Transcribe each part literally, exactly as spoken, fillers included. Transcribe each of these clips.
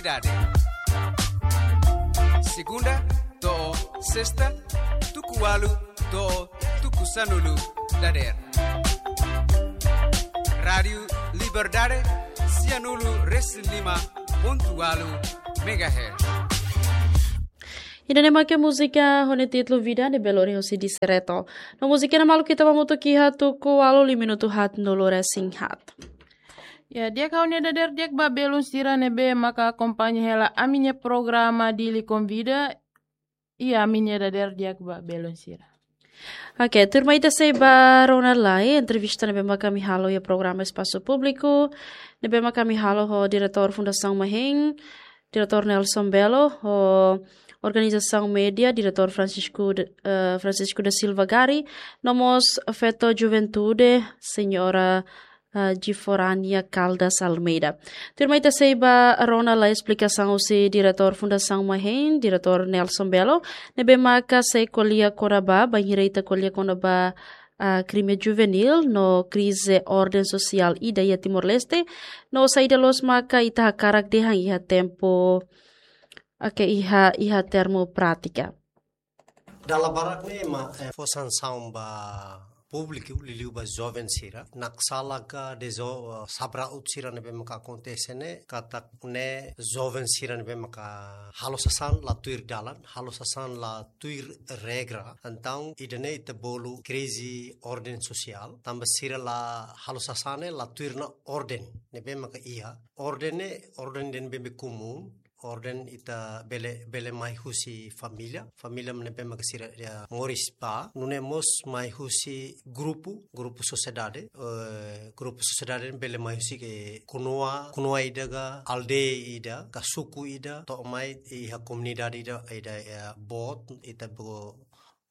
Dade. Segunda to'o sesta, tuku ualu to'o tuku sanulu dadeer. Rádiu Liberdade, sianulu resin lima pontu ualu megahertz. Ida-ne'e maka múzika ho nia títulu Vida ne'ebé lori husi Disereto. No múzika ne'e maluk ita bá hamutuk iha tuku ualu liu minutu haatnulu resin haat. Ya, di'ak, ha'u-nia dadeer di'ak ba belun sira ne'ebé maka akompaña hela ami-nia programa Dili Konvida. Iha ami-nia dadeer di'ak ba belun sira. Oke, tuirmai ita sei ba rona lai entrevista ne'ebé maka ami halo iha programa Espasu Públiku, ne'ebé maka ami halo ho Diretór Fundasaun Mahen, Diretór Nelson Belo, ho Organizasaun Média, Diretór Francisco de, eh, Francisco da Silva Gari, no mós feto juventude, Señora, eh, Giforania Caldas Almeida. Tuirmai ita sei ba rona lai esplikasaun husi Diretór Fundasaun Mahen, Diretór Nelson Belo, ne'ebé maka sei ko'alia kona-ba, bainhira ita ko'alia kona-ba, ah, krime juvenil no krize orden sosiál ida iha Timor-Leste, no saida loos maka ita hakarak dehan iha tempu, oke, iha, iha termu prátika. Dala barak ne'e ema, eh, fó sansaun ba públiku, liuliu ba joven sira. Naksala ka dezo, eh, sabraut sira ne'ebé maka akontese ne'e, katak ne'e joven sira ne'ebé maka halo sasán la tuir dalan, halo sasán la tuir regra. Entaun, ida-ne'e ita bolu krize orden sosiál. Tanba sira la halo sasán ne'e la tuir ona orden ne'ebé maka iha. Orden ne'e, orden ida ne'ebé komún, orden ita bele, bele mai husi família. Família ne'ebé maka sira, ya, moris ba. Nune'e mós mai husi grupu, grupu sosiedade. Eh, grupu sosiedade bele mai husi ke konua, konua ida ka aldeia ida, ka suku ida, to'o mai iha komunidade ida, ida, ya, boot, ita bo-,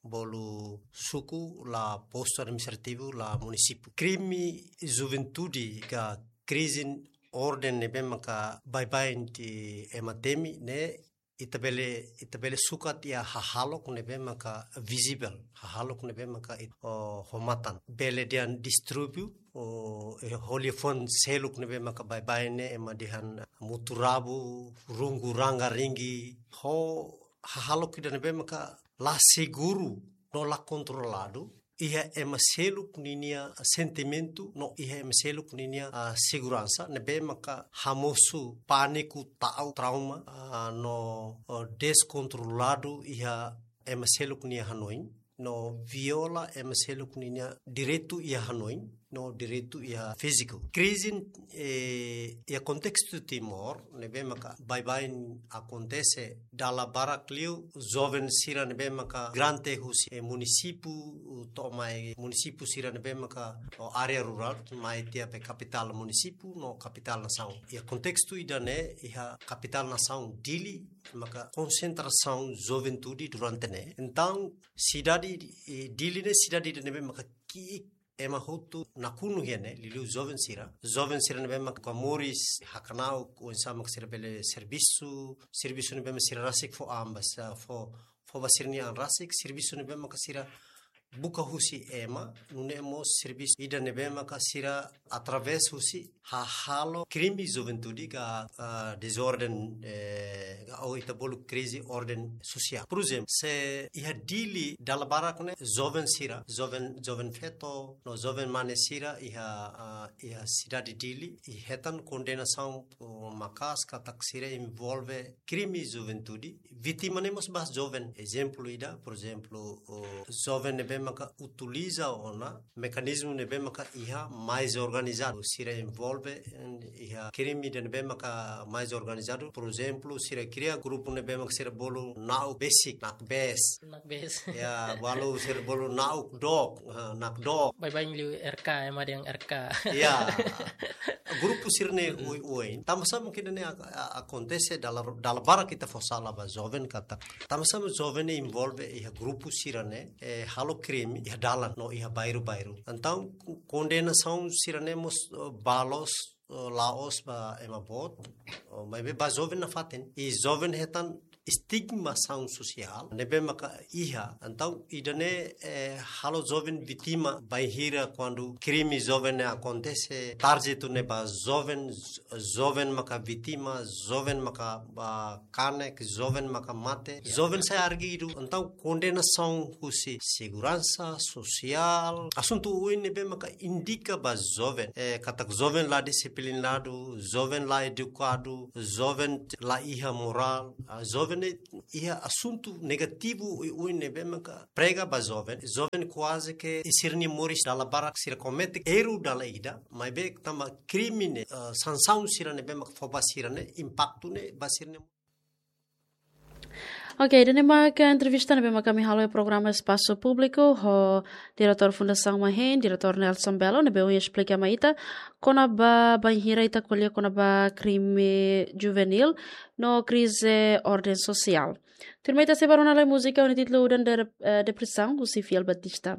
bolu suku, la postu administrativu, la munisípiu. Krime juventude ka krize orden ne'ebé maka baibain ita ema temi ne'e, ita bele, ita bele sukat iha hahalok ne'ebé maka visible, hahalok ne'ebé maka it-, o, ho matan. Bele dehan distúrbiu, o, eh, ho liafuan seluk ne'ebé maka baibain ne'e ema dehan mutu-rabu, rungu ranga-ringi, ho hahalok ida ne'ebé maka la seguru no la kontroladu iha ema seluk ninia sentimentu, no iha ema seluk ninia, ah, seguransa, ne'ebé maka hamosu pániku, ta'uk, trauma, ah, no, oh, deskontroladu iha ema seluk nia hanoin, no viola ema seluk ninia direitu iha hanoin, no direitu iha fíziku. Krize, eh, iha kontestu Timor, ne'ebé maka baibain akontese dala barak liu, joven sira ne'ebé maka migrante husi, eh, munisípiu, to'o mai munisípiu sira ne'ebé maka, o, área rurál, mai tiha ba kapitál munisípiu, no kapitál nasaun. Iha kontestu ida-ne'e, iha kapitál nasaun Dili, maka konsentrasaun juventude durante ne'e. Entaun, sidade, eh, Dili ne'e sidade ida ne'ebé maka ki'ik ema hotu nakonu iha ne'e, liuliu joven sira. Joven sira ne'ebé maka moris, hakna'uk oinsá maka sira bele servisu, servisu ne'ebé maka sira rasik fó an ba sira, fó, fó ba sira-nia an rasik, servisu ne'ebé maka sira buka husi ema, nune'e mós servisu ida ne'ebé maka sira através husi hahalok krime juventude ka, ah, dezorden, eh, ka, ou ita bolu krize orden sosiál. Por ezemplu, se iha Dili dala barak ne'e joven sira, joven, joven feto, no joven mane sira iha, ah, iha sidade Dili, i hetan kondenasaun, oh, maka'as katak sira envolve krime juventude, vítima ne'e mós ba joven. Ezemplu ida, por ezemplu, o joven ne'ebé maka utiliza ona mekanizmu ne'ebé maka iha mais organizadu. Sira envolve, en, iha krime ida ne'ebé maka mais organizadu. Por ezemplu, sira kria grupu ne'ebé maka sira bolu na'uk besik, nakbes. Nakbes. Ya, balu sira bolu na'uk dook, ha, nakdook. Baibain liu R K, ema dehan R K. Ya. Grupu sira-ne'e, hmm, oioin. Tanba sá mungkin ne'e ak-, a-, akontese dala, dala barak ita fó sala ba joven katak. Tanba sá joven ne'e envolve iha grupu sira-ne'e, eh, halo krime iha dalan no iha bairru-bairru. Entaun, kondenasaun sira-ne'e mós, eh, ba loos, eh, la'ós ba ema boot, eh, maibé ba joven nafatin. I joven hetan estigmasaun sosiál ne'ebé maka iha. Entaun ida-ne'e, eh, halo joven vítima bainhira kuandu krime joven ne'e akontese, tarjetu ne'e ba joven, joven maka vítima, joven maka, ah, kanek, joven maka mate, joven sai argidu. Entaun kondenasaun husi seguransa sosiál, asuntu oioin ne'ebé maka indika ba joven, eh, katak joven la disiplinadu, joven la edukadu, joven la iha morál, ah, joven ne'e iha asuntu negativu oioin ne'ebé maka prega ba joven, joven kuaze ke sira-nia moris dala barak sira komete erru dala ida, maibé tanba krime ne'e, eh, sansaun sira ne'ebé maka fó ba sira ne'e, impaktu ne'e ba sira-nia. Ok, ida-ne'e maka entrevista ne'ebé maka ami halo iha programa Espasu Públiku ho diretór Fundasaun MAHEN, diretór Nelson Belo, ne'ebé ohin esplika mai ita kona-ba bainhira ita ko'alia kona-ba krime juvenil no krize orden sosiál. Tuirmai ita sei bá rona lai múzika ho nia títulu Udan de, eh, Depresaun, husi Fiel Batista.